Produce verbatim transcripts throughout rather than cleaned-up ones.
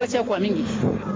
Ti akua mingi.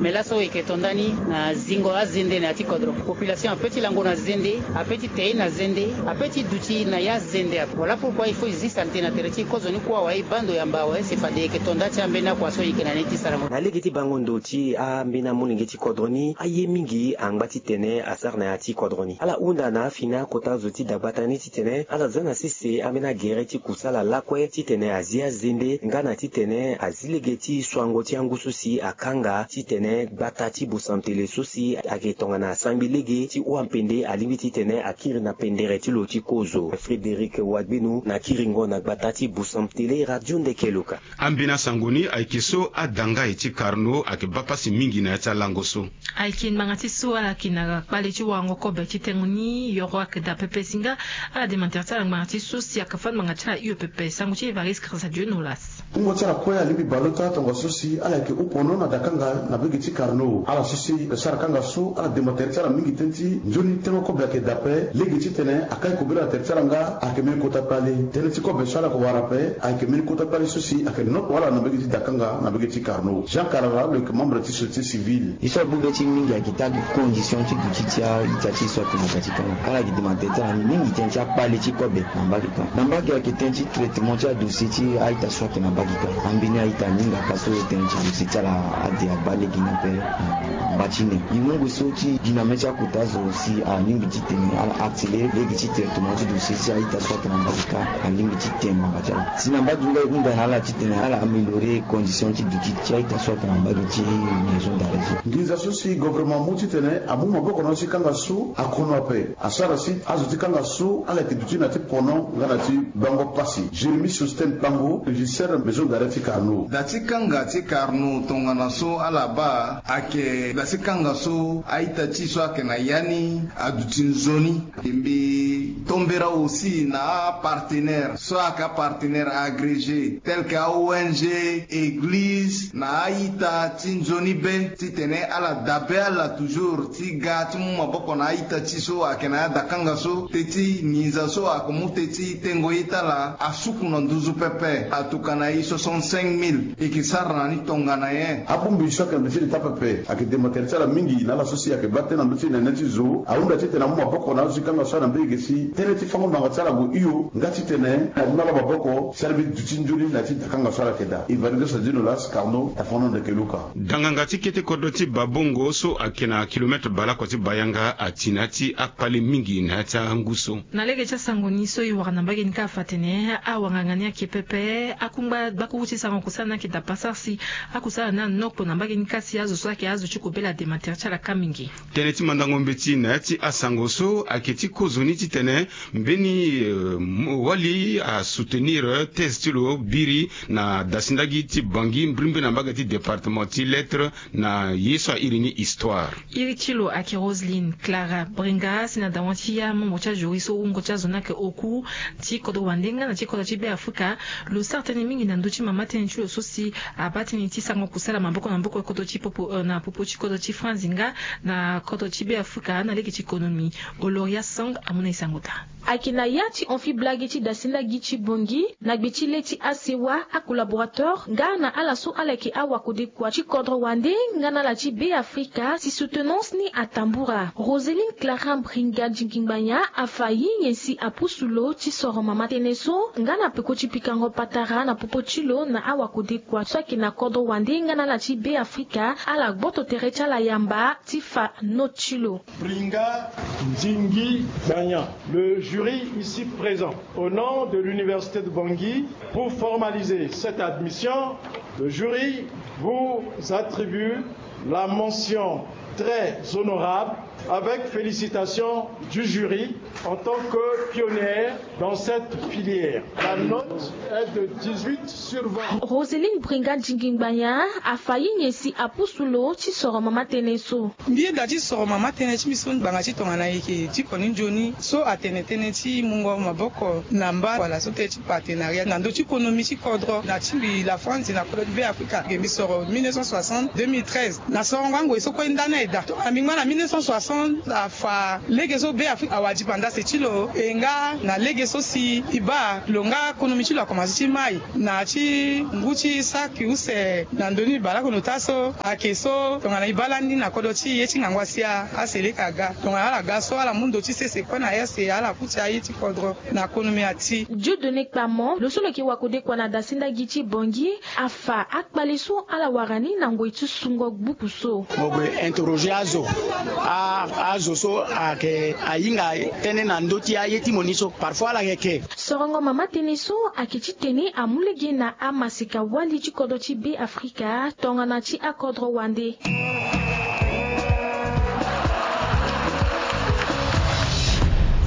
Mais laso e yeke to ndani na zingo azende na ya ti kodro. Population ape ti lango na zende, ape ti te na zende, ape ti duti na ya zende ape. Voilà pourquoi il faut e zi saleté na tere ti e kozoni kue awe, e baa ndo yamba awe. Si fade e yeke to nda ti ambeni akua so e yeke na ni ti sarango. Na lege ti bango ndo ti ambeni amolenge ti kodro ni, aye mingi angba titene asara na ya ti kodro ni. Ala hunda na afini akota zo ti dagbata ni titene ala za na sese ambeni agere ti kusala lakue titene azi azende nga na titene azi lege ti soango ti angu so si akanga titene gbata ti Bosamtele so si ayeke tongana sangbi lege ti hua mpende alingbi titene akiri na pendere ti lo ti kozo. Frédéric Wagbenu na kiringo na gbata ti Bosamtele, Radio Ndeke Luka. Ambeni asango ni ayeke so adanga ye ti Carnot ayeke baa pasi mingi na ya ti alango so. Ayeke ngbanga ti so ala yeke na kpale ti warango kobe ti tengo ni, yoro ayeke daa pepe si nga ala dema tere ti ala ngbanga ti so si ayeke fâ ngbanga ti ala hio pepe. Sango ti Évariste Grâce à Dieu Nolas. Wungo ti ala kue alingbi baleota tongaso si ala yeke hon pono na dakanga na mbage ti Carnot. Ala so si ayeke sara kanga so ala dema tere ti ala mingi tënë ti nzoni tengo kobe ayeke daa ape. Lege titene akai kobela na tere ti ala nga ayeke mbeni kota kpale. Tënë ti kobe so ala yeke wara ape ayeke mbeni kota kpale so si ayeke noko ala na mbage ti dakanga na mbage ti Carnot. Jean Karara lo yeke membre ti société civile. Ye so abongbi ti mingi ayeke taa condition ti duti ti a-ita ti so ayeke na ga ti kanga. Ala yeke dema tere ti ala mingi tënë ti akpale ti kobe na mbage kâ. Na mbage ayeke tënë ti traitement ti adossier ti a-ita so ayeke na mbage kâ. Ambeni a-ita aninga kâ so tënë ti dossier ti ala ade agba lege ni ape na mba ti nen. E mu ngu so ti gi na mê ti akota zo si alingbi titene ala accélérer lege ti traitement ti dossier ti a-ita so ayeke na mbage kâ, alingbi ti tene ngbanga ti ala. Si na mbage nga e hunda na ala titene ala améliorer condition ti duti ti a-ita so ayeke na mbage ti maison d'arrêt so. Nginza so si gouvernement amu titene amu maboko na lo ti kanga so akono ape. Asara si azo ti kanga so ala yeke duti na ti pono nga na ti bango pasi. Jérémie Sostène Pango, régisseur maison d'arrêt ti Carnot. Da ti kanga ti Carnot tongana so ala baa ayeke da ti kanga so a-ita ti so ayeke na ya ni aduti nzoni. E mbi tombera aussi na apartenaire so ayeke apartenaire agrégé tel que a-O N G, église na a-ita ti nzoni be titene ala dabe ala toujours ti ga ti mu maboko na a-ita ti so ayeke na ya dakanga so teti nginza so ayeke mu teti tengo ye ti ala asuku na nduzu pepe. Atuka na e soixante-cinq mille e yeke sara na ni tongana nyen? Abongbi so ayeke na ndö ti leta pepe ayeke dema tere ti ala mingi na ala so si ayeke baa tënë na ndö ti nene ti zo. Ahunda titene amu maboko na azo ti kanga so ana mbege si tënë ti fango ngbanga ti ala gue hio nga titene amu na ala maboko si ala mbi duti nzoni na ya ti dakanga so ala yeke daa. Evariste Sadino Las, Carnot, Tafono Ndeke Luka. Danganga ti kete kodro ti Babongo so ayeke na kilomètre baleoko ti Bayanga ati na ya ti akpale mingi na ya ti angu so. Na lege ti asango ni so e wara na mbage ni kâ afa atene awanganga ni ayeke pepe. Akungba gbakuru ti sarango kusala ni ayeke daa pasara si akusala ni anoko na mbage ni kâ si azo so ayeke azo ti kobela adema tere ti ala kâ mingi. Tënë ti mandango mbeti na ya ti asango so ayeke ti kozoni titene mbeni, euh, mo-, wali asoutenir thèse ti lo biri na dasindagi ti Bangui mbirimbiri na mbage ti département ti lettres na ye so airi ni histoire. Iri ti lo ayeke Roseline Clara Bringa si na dawa ti amembre ti ajury so wungo ti azo ni ayeke oku ti kodro wande nga na ti kodro ti Be Afrika. Lo sara tënë mingi na ndö ti mama tënë ti lo so si abaa tënë ti sarango kusala maboko na maboko kodro ti popo, euh, na popo ti kodro ti France nga na kodro ti Be Afrika na lege ti économie. Oloria Song amu na e sango daa. Ayeke na ya ti hon fibla ge ti dasindagi ti Bangui na gbe ti le ti asewa, acollaborateur nga na ala so ala yeke awakodekua ti kodro wande nga na ala ti Be Afrika si soutenance ni atambura. Roseline Clara Bringa Ndingi Ngbanya afa ye nyen si apusu lo ti soro mama tënë so nga na peko ti pikango patara na popo ti lo na awakodekua so ayeke na kodro wande nga na ala ti Be Afrika. Ala gboto tere ti ala yamba ti fa note ti lo. Bringa Ndingi Gbanya. Le jury ici présent, au nom de l'Université de Bangui, pour formaliser cette admission, le jury vous attribue la mention très honorable avec félicitations du jury en tant que pionnière dans cette filière. La note est de dix-huit sur vingt. Roseline Bringa Ndingi Ngbanya afa ye nyen si apusu lo ti soro mama tënë so. Mbi yeda ti soro mama tënë ti mbi so ngbanga ti tongana e yeke ti koni nzoni so atene tënë ti mungo maboko na mba wala so tënë ti partenariat na ndö ti konomi ti kodro na ti mbi la France na kodro ti Be Afrika. Ge mbi soro mille neuf cent soixante, deux mille treize. Na sorongo angoi so kue nda ni aye daa. Tongana mbi ngba na mille neuf cent soixante afa lege so Be Afrika awara dipanda. Se ti lo e nga na lege so si e baa lo nga konomi ti lo akomanse ti mai na ti ngu ti saki use na ndö ni baleoko na ota so ayeke so tongana e baa lani na kodro ti e ye ti ngangu asia aseleka aga tongana ala ga so ala mu ndo ti sese kue na ese ala kuti aye ti kodro na konomi ati. Dieudonné Kpamo lo so lo yeke wa kode kua na dasinda gi ti Bangui afa akpale so ala wara ni na ngoi ti sungo gbuku so. Mo gue interroger azo. A- azo so ayeke ahinga tënë na ndö ti aye ti mo ni so parfois ala yeke. Sorongo mama tënë so ayeke titene amu lege na amaseka wali ti kodro ti Be Afrika tongana ti akodro wande.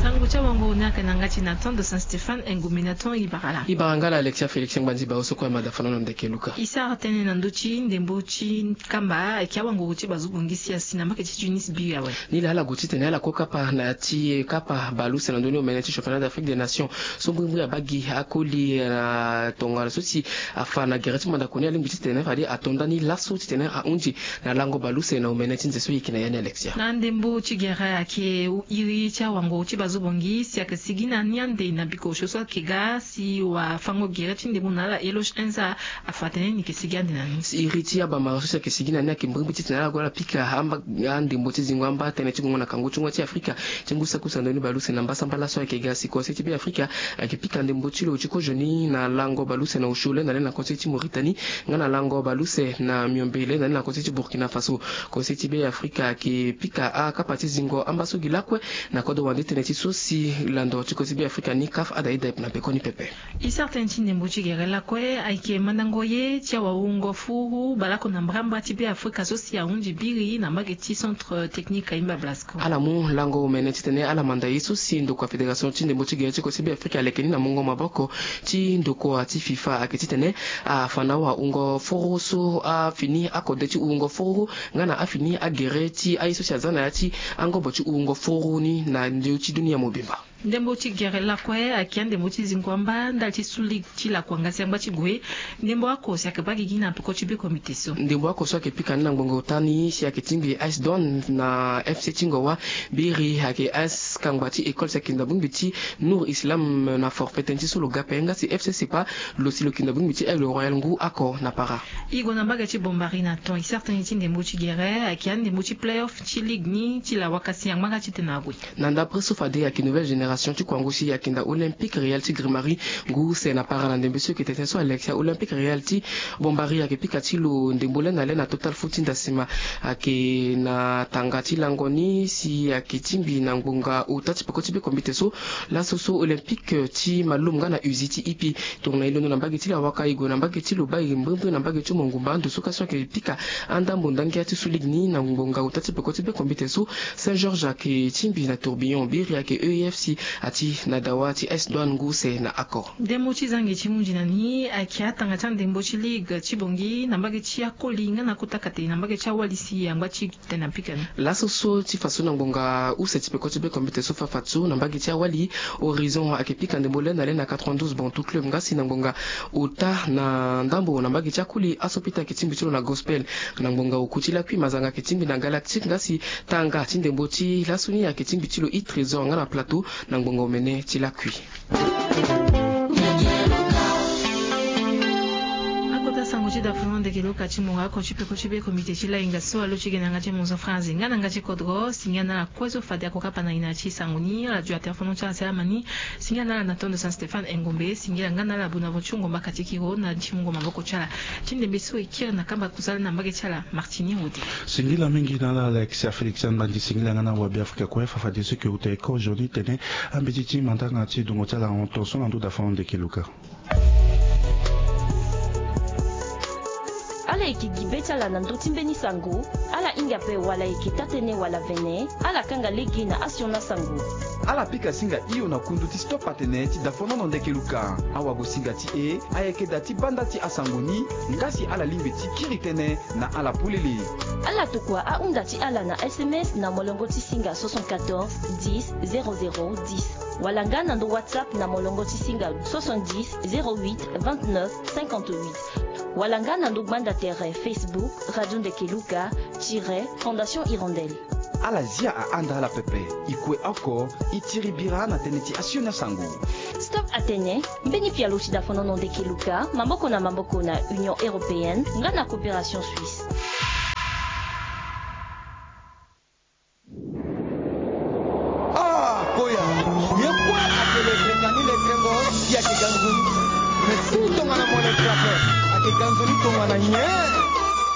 Sango ti awanguru ni ayeke na yanga ti Nathan de Saint Stéphane Engombe. Nathan, e bara ala. E bara nga la Alexia Félix Ngbanzi Bawo so kue amada fana na ndeke Luka. E sara tënë na ndö ti ndembo ti kamba ayeke awanguru ti bazo bongisi asi na mbage ti Tunis biri awe. Ni la ala gue titene ala kue kapa na ya ti kapa baleuse na ndö ni omene ti championnat d'Afrique des nations so mbrimbri abaa gi akoli na tongana so si afa na gere ti mandako ni alingbi titene fade ato ndani laso titene ahunzi na lango baleuse na omene ti nze so e yeke na ya ni Alexia. Na ndembo ti gere ayeke iri ti awanguru ti bazo bongisi ayeke sigi na ni ande na bikosio so ayeke ga si wafango gere ti ndembo na ala Eloge Enza afa atene ni yeke sigi ande na ni. Si iri ti abamara so si ayeke sigi na ni ayeke mbrimbri titene ala gue ala pika amba andembo ti zingo amba tënë ti gongo na kangu ti ngoi ti Afrika ti ngu saki use na ndö ni baleuse na mbasambala so ayeke ga si Conseil ti Be Afrika ayeke pika ndembo ti lo ti kozo ni na lango baleuse na osio le na le na Conseil ti Mauritanie nga na lango baleuse na miombe le na le na Conseil ti Burkina Faso. Conseil ti Be Afrika ayeke pika akapa ti zingo amba so gi lakue na kodro wande tënë ti so si lando ti Conseil ti Be Afrika ni CAF ada ida na pekoni pepe. E sara tënë ti ndembo ti gere lakue ayeke mandango ye ti awawungo furu baleoko na mbrambra ti Be Afrika so si ahunzi biri na mbage ti centre technique Kayimba Blasco. Ala mu lango omene titene ala manda ye so si ndokua fédération ti ndembo ti gere ti Conseil ti Be Afrika aleke ni na mungo maboko ti ndokua ti FIFA ayeke titene afa na awawungo furu so afini akode ti wungo furu nga na afini agere ti aye so si aza na ya ti angobo ti wungo furu ni na ndö ti dunia mobimba. Ndembo ti gere lakue ayeke andembo ti zingo amba ndali ti su ligue ti lakua nga si angba ti gue. Ndembo oko si ayeke baa gigi na peko ti be komite so. Ndembo oko so ayeke pika ni na ngbonga ota ni si ayeke tingbi AS Douanes na FC ti Ngowa. Biri ayeke AS Kangba ti École si ayeke na bongbi ti Nour Islam na forfait tënë ti so lo ga ape nga si FC Sepa lo si lo yeke na bongbi ti Aigle Royal ngu oko na para. E gue na mbage ti Bombari na ton e sara tënë ti ndembo ti gere ayeke andembo ti play-off ti ligue ni ti lawaka si angba nga titene ague. Na ndapre so fade ayeke nouvelle génération ti kuangu si ayeke na Olympique Real ti Grimari ngu use na para na ndembe so e yeke tene so Alexia. Olympique Real ti Bombari ayeke pika ti lo ndembo le na le na Total Foot ti Ndasima ayeke na tanga ti lango ni si ayeke tingbi na ngbonga ota ti peko ti be komite so. Laso so Olympique ti Malum nga na Uzi ti Ipi tongana e londo na mbage ti lawaka e gue na mbage ti Lobaye mbrimbri na mbage ti Mongumba ndo so kasi ayeke pika andambo ndangia ti su ligue ni na ngbonga ota ti peko ti be komite so. Saint Georges ayeke tingbi na Tourbillon, Biri ayeke E F C ati na dawa ti AS Douanes ngu use na Accor. Ndembo ti zangi ti hunzi na ni ayeke atanga ti andembo ti ligue ti Bongi na mbage ti akoli nga na kota kate na mbage ti awali si angba ti tene apika ni. Laso so ti fa so na ngbonga use ti peko ti be komite so fa fa so na mbage ti awali Horizon ayeke pika ndembo le na le na quatre-vingt-douze Bantou Club nga si na ngbonga ota na ndambo na mbage ti akoli aso pita ayeke tingbi ti lo na Gospel. Na ngbonga oku ti lakui Mazanga ayeke tingbi na Galactique nga si tanga ti ndembo ti laso ni ayeke tingbi ti lo i Trésor nga na Plateau na ngbonga omene ti lakui. Akota sango ti dafono ndeke loka ti mo oko ti peko ti be komite ti lainga so alo ti ge na yanga ti monzo franzi nga na yanga ti kodro si nga na ala kue so fade ako kapa na ina ti sango ni ala dua telefono ti ala si ala ma ni. Singila na ala na tondo Saint Stéphane Engombe, singila nga na ala Bonaventure Ngomba Katikiro na ti mungo maboko ti ala. Ti ndembe so e kiri na kamba kusala na mbage ti ala Martini Rode. Singila mingi na ala Alexia Félix Angbandi, singila nga na wabe Afrika kue fa fadeso e ke uta e kozo ni tene ambeti ti mandanga ti dungo ti ala hon tonso na ndo dafono ndeke luka. Ala yeke gi be ti ala na ndö ti mbeni sango. Ala hinga ape wala e yeke taa-tënë wala vene, ala kanga lege na asioni asango. Ala pika singa hio na kundu ti stop atene ti dafonono ndeke luka. Awagosinga ti e ayeke daa ti banda ti asango ni, nga si ala lingbi ti kiri tënë na ala polele. Ala tokua ahunda ti ala na S M S na molongo ti singa soixante-quatorze dix zéro zéro dix, wala nga na ndo WhatsApp na molongo ti singa soixante-dix zéro huit vingt-neuf cinquante-huit, wala nga na ndo gbanda tere Facebook Radio Ndeke Luka tiret Fondation Hirondelle. Ala zia ahanda ala pepe. E kue oko, e tiri bira na tënë ti asioni asango. Stop atene, mbeni pialo si dafonono ndeke luka maboko na maboko na Union Européenne nga na Coopération Suisse. Ah, koya. Ye kue atele Benjamin Letrengo, si ake ganzoni. Mais si tongana mone frappe, ake ganzoni tongana nye.